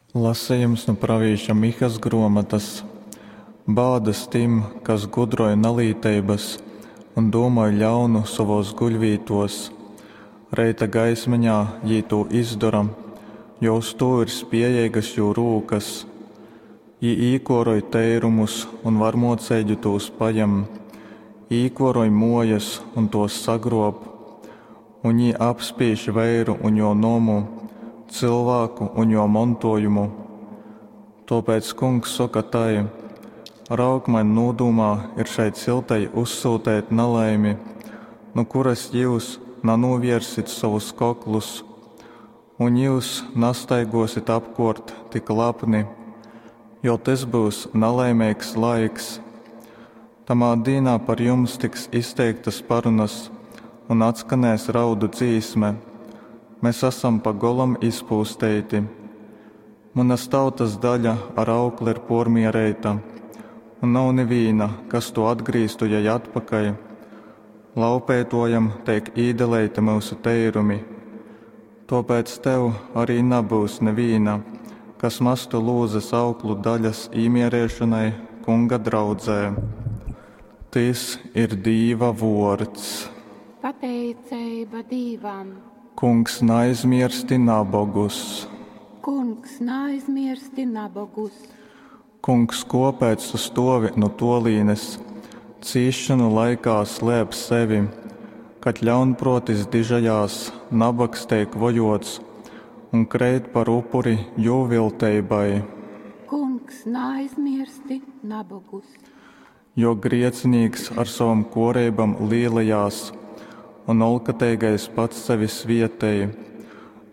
Lasejums nu pravīša Mihas grōmotas. Bādas tim, kas gudroj nalīteibas un dūmoj ļaunu sovōs guļvītōs! Reita gaismeņā jī tū izdora, jo uz tū ir spējeigas jū rūkas. Jī īkōroj teirumus un varmōceigi tūs pajem, īkōroj mōjas un tōs sagrōb. Un jī apspīž veiru un jō nomu, cylvāku un jō montōjumu. Tōpēc Kungs soka tai, Raug, maņ nūdūmā ir šai ciltei uzsyuteit nalaimi, nu kuras jyus nanūvierzsit sovus koklus, un jyus nastaigōsit apkōrt tik lapni, jo tys byus nalaimeigs laiks. Tamā dīnā par jums tiks izteiktas parunas un atskanēs raudu dzīsme, Mes asam pa golam izpūsteiti. Munas tautas daļa ar aukli ir pōrmiereita, un nav nivīna, kas tū atgrīztu jai atpakaļ. Laupeitōjam teik īdaleiti myusu teirumi. Tōpēc tev ari nabyus nivīna, kas mastu lūzes auklu daļas īmiereišonai Kunga draudzē. Tys ir Dīva vōrds. Pateiceiba Dīvam. Kungs, naaizmiersti nabogus! Kungs, naaizmiersti nabogus! Kungs, kōpēc tu stōvi nu tōlīnes, cīsšonu laikā slēp sevi? Kad ļaunprōtis dižojās, nabogs teik vojōts un kreit par upuri jū vilteibai. Kungs, naaizmiersti nabogus! Jo griecinīks ar sovom kōreibom līlejās, un olkateigais pats sevi svietej.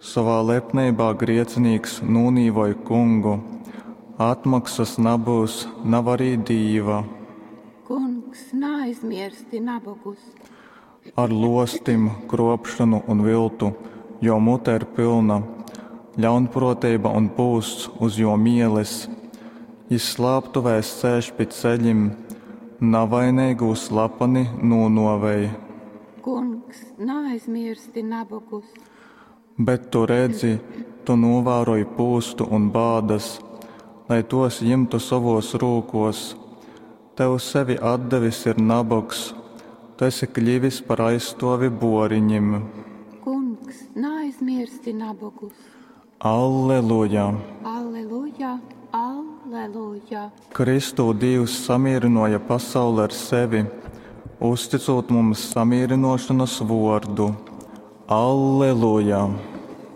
Sovā lepneibā griecinīks nūnīvoj Kungu, atmoksas nabyus, nav arī Dīva. Kungs, naaizmiersti nabogus! Ar lōstim, krōpšonu un viltu jō mute ir pylna, ļaunprōteiba un pūsts uz jō mieles. Jys slāptuvēs sēž pi ceļim, navaineigū slapani nūnōvej. Kungs, naaizmiersti nabogus! Bet tu redzi, tu nūvāroj pūstu un bādas, lai tōs jimtu sovōs rūkōs. Tev sevi atdevis ir nabogs, tu esi kļivis par aizstōvi bōriņim. Kungs, naaizmiersti nabogus! Alleluja! Alleluja! Alleluja! Kristū Dīvs samīrynōja pasauli ar sevi, uzticūt mums samīrynōšonas vōrdu. Alleluja!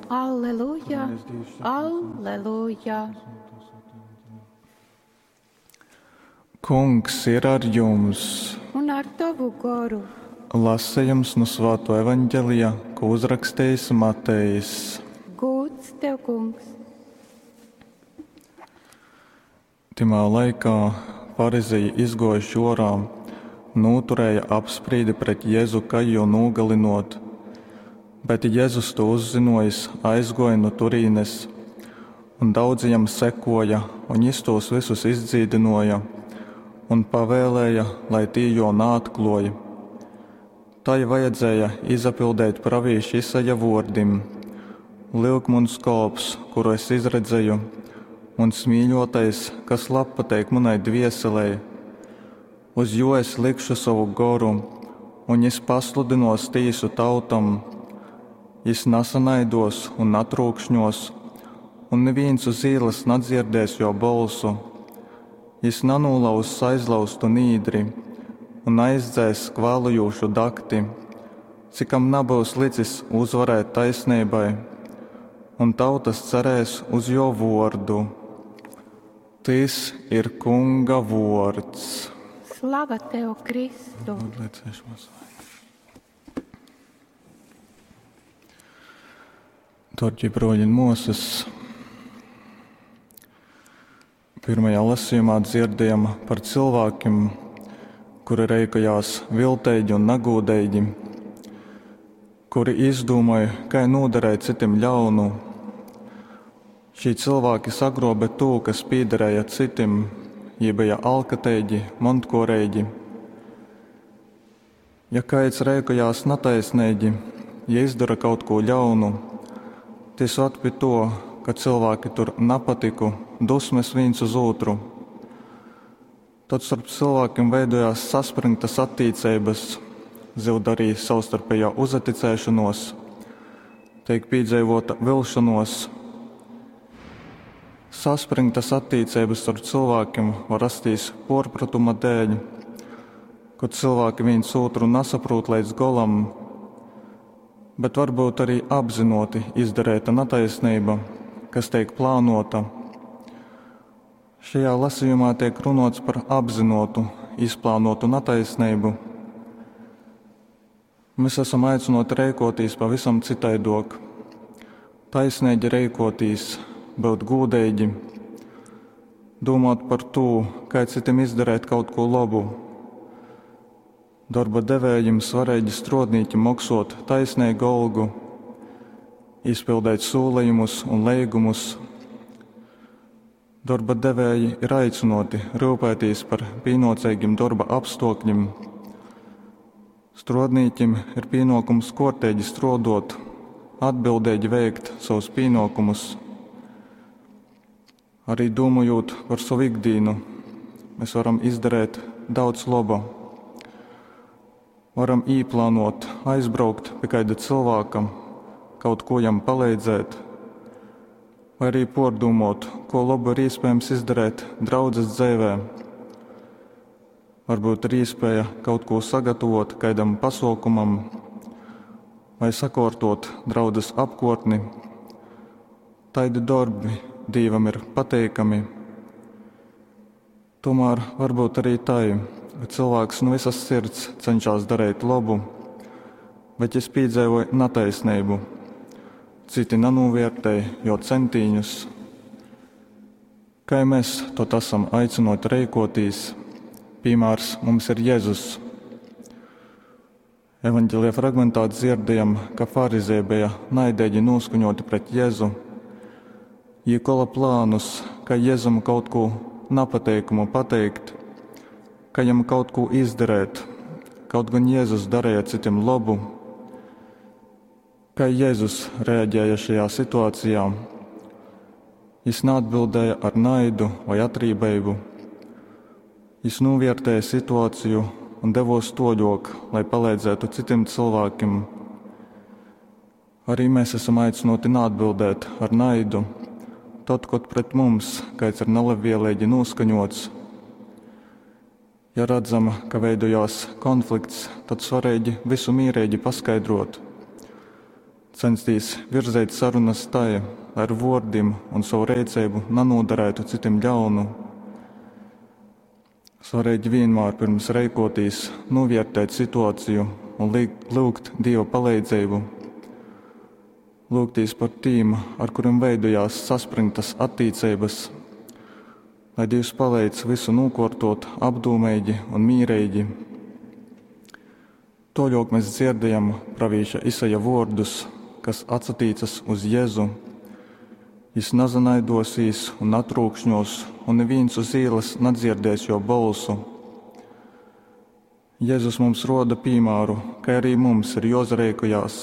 Alleluja! Alleluja! Kungs ir ar jums! Un ar tovu goru! Lasejums nu Svātō Evaņgelija, ko uzrakstījis Matejs. Gūds tev, Kungs! Tymā laikā farizeji izgōjuši ōrā, nūturēja apsprīdi pret Jezu, kai jū nūgalynōt. Bet Jezus tū uzzynōjis, aizgōja nu turīnes, un daudzi jam sekōja, un jys tūs vysus izdzīdynōja un pavēlēja, lai tī jō naatklōj. Tai vajadzēja izapildeit pravīša Isaja vōrdim: Lyuk, muns kolps, kuru es izredzeju, muns mīļōtais, kas labpateik munai dvieselei. Uz jū es likšu sovu goru, un jys pasludynōs tīsu tautom. Jys nasanaidōs un natrūkšņōs, un nivīns uz īlas nadzierdēs jō bolsu. Jys nanūlauzs aizlauztu nīdri un naizdzēss kvālojūšu dakti, cikam nabyus licis uzvarēt taisneibai, un tautas cerēs uz jō vōrdu. Tys ir Kunga vōrds. Slava tev, Kristu! Dārgie broļi un māsas, pirmajā lasījumā dzirdējam par cilvēkiem, kuri reikojās vilteigi un nagūdeigi, kuri izdūmoja, kai noderēt citim ļaunu. Šī cilvēki sagrobe tū, kas piederēja citim, jī bija alkateigi, montkoreigi. Ja kaids reikojās nataisneigi, ja izdara kaut ko ļaunu, tys vad pi to, ka cylvāki tur napatyku, dusmes vīns uz ūtru. Tod storp cylvākim veidojās saspryngtas attīceibas, zyud arī savstarpejā uzaticēšonōs, teik pīdzeivōta vilšonōs. Saspryngtas attīceibas storp cylvākim var rastīs pōrprotuma dēļ, kod cylvāki vīns ūtru nasaprūt leidz golam, bet varbyut arī apzynōti izdareita nataisneiba, kas teik plānōta. Šajā lasījumā tiek runāts par apzinātu, izplānotu nataisneibu. Mēs esam aicināti reikotīs pavisam citaidok. Taisnīgi reikotīs, būt gūdeigi, domāt par to, kā citam izdarīt kaut ko labu. Darba devējiem svarīgi strodnīki maksot taisnīgu algu, izpildīt solījumus un leigumus. Darba devēji ir aicināti rūpēties par pienācīgiem darba apstākļiem. Strodnīkim ir pienākums kārtīgi strodot, atbildīgi veikt savus pienākumus. Arī domājot par savu ikdienu, mēs varam izdarīt daudz laba. Varam īplānot, aizbraukt pie kāda cilvēka, kaut ko jam palīdzēt, vai arī pārdomot, ko labu ir iespējams izdarīt draudzes dzīvē. Varbūt ir iespēja kaut ko sagatavot kādam pasaukumam, vai sakārtot draudzes apkārtni. Taidi darbi Dievam ir pateikami. Tomēr varbūt arī tai, ka cilvēks no visas sirds cenšas darīt labu, bet jis piedzīvoja netaisnību. Citi nenovērtēja jo centīņus. Kā mēs tot esam aicinoti reikotīs, piemērs mums ir Jēzus. Evanģelija fragmentā dzirdējam, ka farizēji bija naidīgi noskaņoti pret Jēzu. Jī kola plānus, ka Jēzum kaut ko napateikumu pateikt, ka jam kaut ko izdarēt, kaut gan Jēzus darīja citiem labu. Kā Jēzus reaģēja šajā situācijā? Jis neatbildēja ar naidu vai atrībību. Jis novērtēja situāciju un devos toļok, lai palīdzētu citiem cilvēkiem. Arī mēs esam aicināti neatbildēt ar naidu, tad, kad pret mums kāds ir nelabvēlīgi noskaņots. Ja redzam, ka veidojās konflikts, tad svarīgi visu mierīgi paskaidrot. Censties virzīt sarunas tai, lai ar vārdiem un savu rīcību nenodarētu citiem ļaunu. Svarīgi vienmēr pirms reikotīs novērtēt situāciju un lūgt Dieva palīdzību. Lūgtīs par tīm, ar kuriem veidojās saspringtas attiecības, lai Dievs palīdz visu nokārtot apdomīgi un mīrīgi. Toļok mēs dzirdējam pravīša Isaja vārdus, kas atsatīcas uz Jēzu. Jis nazanaidosīs un natrūkšņos, un neviens uz ielas nedzirdēs jo balsu. Jēzus mums roda piemēru, ka arī mums ir jāzarēkojās.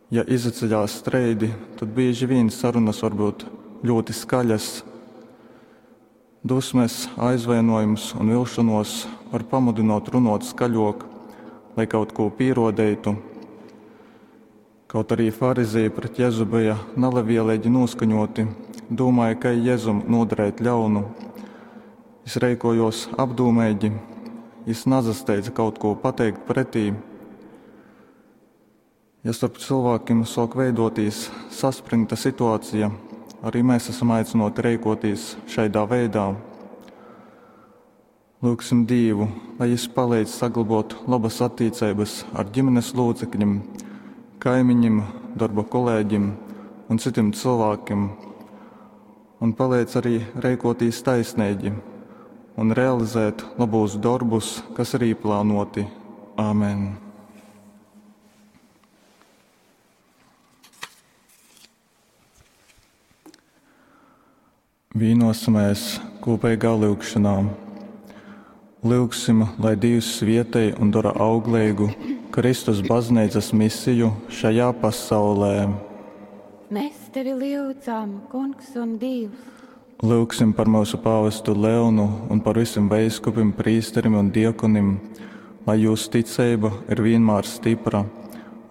Ja izaceļās streidi, tad bieži vien sarunas var būt ļoti skaļas. Dusmes, aizvainojums un vilšanos var pamudinot runot skaļok, lai kaut ko pierodētu. Kaut arī farizēji pret Jēzu bija nelabvēlīgi noskaņoti, domāja, ka Jēzum nodarēt ļaunu. Jis reikojos apdomīgi, jis nazasteidza kaut ko pateikt pretī. Ja starp cilvēkiem sāk veidotīs saspringta situācija, arī mēs esam aicināti reikotīs šaidā veidā. Lūgsim Dievu, lai Jis palīdz saglabot labas attiecības ar ģimenes locekļiem, kaimiņiem, darba kolēģim un citiem cilvēkiem, un palīdz arī reikotīs taisnīgi un realizēt labos darbus, kas ir īplānoti. Āmen! Vīnosimies kopīgā lūgšanā. Lūgsim, lai Dievs svietej un dara auglīgu Kristus baznīcas misiju šajā pasaulē. Mēs tevi lyudzam, Kungs un Dievs. Lūgsim par mūsu pāvestu Leonu un par visiem veiskupim, prīsterim un diekonim, lai jūsu ticība ir vienmēr stipra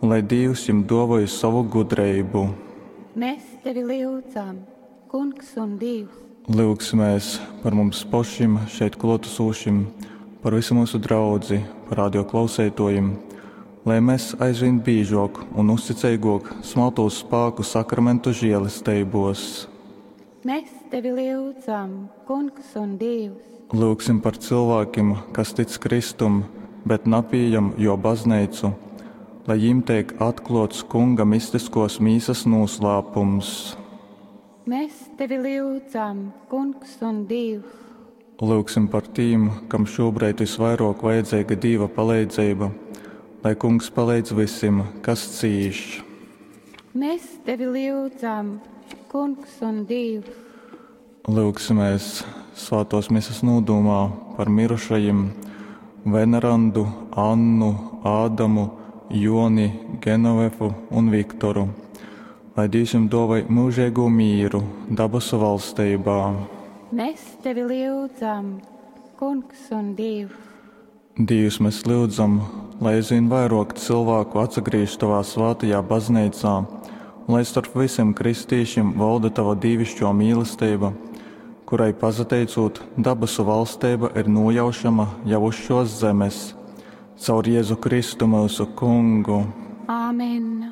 un lai Dievs jums dāvāja savu gudrību. Mēs tevi lyudzam, Kungs un Dievs. Lūgsimies par mums pašiem šeit klātesošiem, par visu mūsu draudzi, par radio klausētojiem, lai mēs aizvien biežāk un uzticīgāk smaltos spēku sakramentu žēlestībos. Mēs tevi lyudzam, Kungs un Dievs. Lūgsim par cilvēkiem, kas tic Kristum, bet napījam jo baznīcu, lai viņiem tiek atklots Kunga mistiskos mīsas noslēpums. Mēs tevi lyudzam, Kungs un Dievs. Lūgsim par tiem, kam šobrīd visvairāk vajadzīga Dieva palīdzība, lai Kungs palīdz visiem, kas cīš. Mēs tevi lyudzam, Kungs un Dievs. Lūgsimies svētos misas nodomā par mirušajiem Venerandu, Annu, Ādamu, Joni, Genovefu un Viktoru, lai Dievs jums dāvāj mūžīgo mīru dabasu valstībā. Mēs tevi lyudzam, Kungs un Dievs. Dievs, mēs lūdzam, lai aizvien vairāk cilvēku atsagriež tavā svētajā baznīcā, un lai starp visiem kristīšiem valda tava dievišķo mīlestība, kurai pazateicot dabasu valstība ir nojaušama jau uz šos zemes. Caur Jēzu Kristu mūsu Kungu. Āmen.